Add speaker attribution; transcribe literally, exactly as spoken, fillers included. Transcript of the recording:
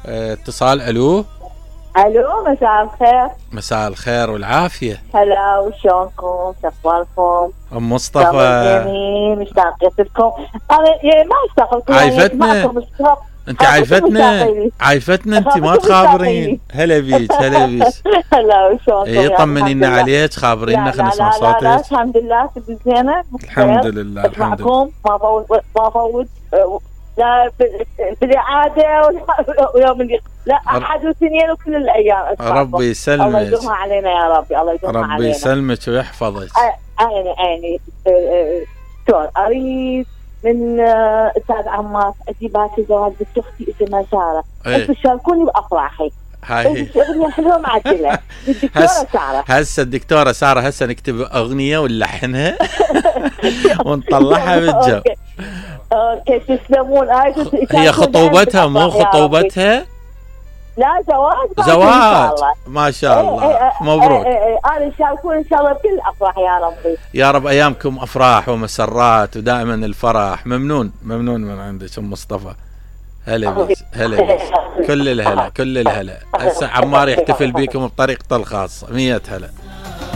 Speaker 1: اه اتصال. الو
Speaker 2: الو، مساء الخير.
Speaker 1: مساء الخير والعافية.
Speaker 2: هلا، وشلونكم؟ شو اخباركم؟
Speaker 1: ام مصطفى
Speaker 2: جميل، مشتاقة لكم. انا يعني ما اشتاق لكم،
Speaker 1: عايفتنا انت، عايفتنا عايفتنا انت، ما تخابرين. هلا بيك هلا بيك.
Speaker 2: هلا، وشلونكم؟
Speaker 1: ايه، طمنينا عليك، خابرينا، خلينا نسمع صوتك.
Speaker 2: لا لا، الحمد لله، كنت زينة.
Speaker 1: الحمد لله الحمد لله.
Speaker 2: ما فوت ما فوت لا في الإعادة ويوم اللي لا أحد واثنين وكل الأيام.
Speaker 1: ربي يسلمك.
Speaker 2: الله يدومها علينا يا ربي، الله يدومها علينا.
Speaker 1: ربي يسلمك ويحفظك.
Speaker 2: عيني عيني. دكتور أريد من أستاذ عمار أجيبها في زواج بنت أختي اسمها سارة. أنتوا تشاركوني بأفراحي. هاي أغنية حلوة معدلة الدكتورة سارة.
Speaker 1: هسه الدكتورة سارة هسه نكتب أغنية ونلحنها ونطلعها بالجو.
Speaker 2: اوكي، تسلمون.
Speaker 1: هي خطوبتها مو خطوبتها؟
Speaker 2: لا، زواج.
Speaker 1: زواج ما شاء الله.
Speaker 2: ايه ايه
Speaker 1: مبروك.
Speaker 2: ايه ايه انا شاركون ان شاء الله بكل الافراح يا ربي.
Speaker 1: يا رب ايامكم افراح ومسرات ودائما الفرح. ممنون ممنون من عندك ام مصطفى. هلا بيك هلا بيك. كل الهلا كل الهلا. هسه عمار يحتفل بيكم بطريقته الخاصة. مية هلا.